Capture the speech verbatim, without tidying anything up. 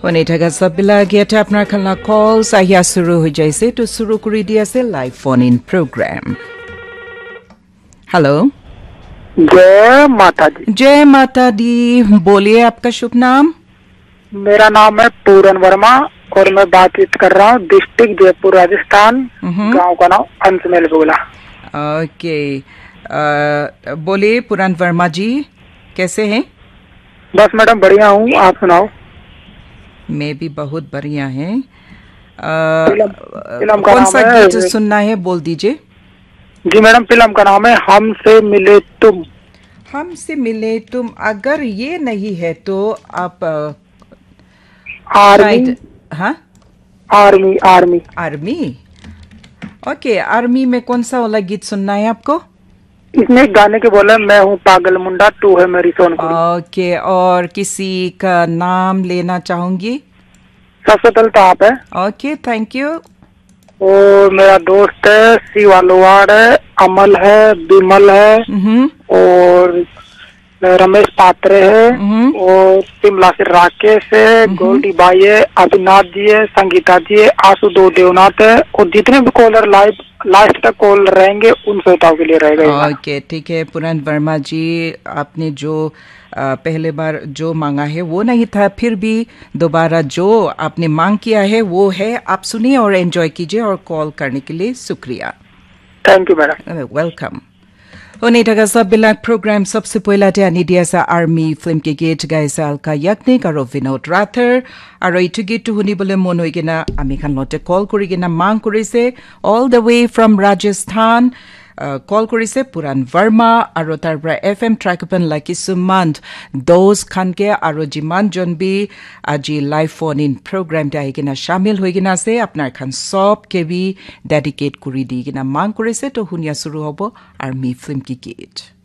Hone thaka sab bila agia te apnar khan la calls ahia suru hoi jaise, to suru kuri di ase live phone in program. Hello. जय माता दी। जय माता दी। बोलिए, आपका शुभ नाम? मेरा नाम है पूरन वर्मा और मैं बातचीत कर रहा हूँ डिस्ट्रिक्ट जयपुर, राजस्थान, हम्म। गांव का नाम अंशमेल बोला। ओके। अ, बोलिए पूरन वर्मा जी, कैसे हैं? बस मैडम, बढ़िया हूँ, आप सुनाओ। मैं भी बहुत बढ़िया है। अ, फिल्म, फिल्म का कौन नाम सा है गीत सुनना है, बोल दीजिए। जी मैडम, फिल्म का नाम है हमसे मिले तुम। हमसे मिले तुम, अगर ये नहीं है तो आप, अ, आर्मी। शायद, हाँ? आर्मी, आर्मी। आर्मी? ओके, आर्मी में कौन सा वाला गीत सुनना है आपको? इसमें एक गाने के बोले, मैं हूँ पागल मुंडा, तू है मेरी सोनकुड़ी। ओके, और किसी का नाम लेना चाहूंगी? सबसे पहले तो आप है। ओके, थैंक यू। और मेरा दोस्त है, शिवा लोवार है, अमल है, विमल है, हम्म। और रमेश पात्रे है, हम्म। और शिमला से राकेश है, हम्म। गोल्डी भाई है, अभिनाथ जी है, संगीता जी है, आशुतोष देवनाथ है, और जितने भी कॉलर लाइव, लास्ट तक कॉल रहेंगे, उन श्रोताओं के लिए रहेगा ये गाना। ओके, ठीक है पूरन वर्मा जी, आपने जो, अ, पहले बार जो मांगा है वो नहीं था, फिर भी दोबारा जो आपने मांग किया है वो है। आप सुनिए और एंजॉय कीजिए, और कॉल करने के लिए शुक्रिया। थैंक यू मैडम। वेलकम। Hone thaka sab bilak program sabse poila te ani dia ase Army film ke git gaise Alka Yagnik aro Vinod Rathore. Aro itu git tu huni bole mon hoi kena ami khan lote call kuri kena mang kuri se all the way from Rajasthan. Uh, call kuri se Puran Verma aro tar pra F M Trackpan la kisum man dos khan ke aro jiman jon bi aji live phone in program te ahi kena shamil hoi kena ase, apnar khan sob ke bi dedicate kuri di kena mang kuri se. To hunia suru hobo Army film ki git.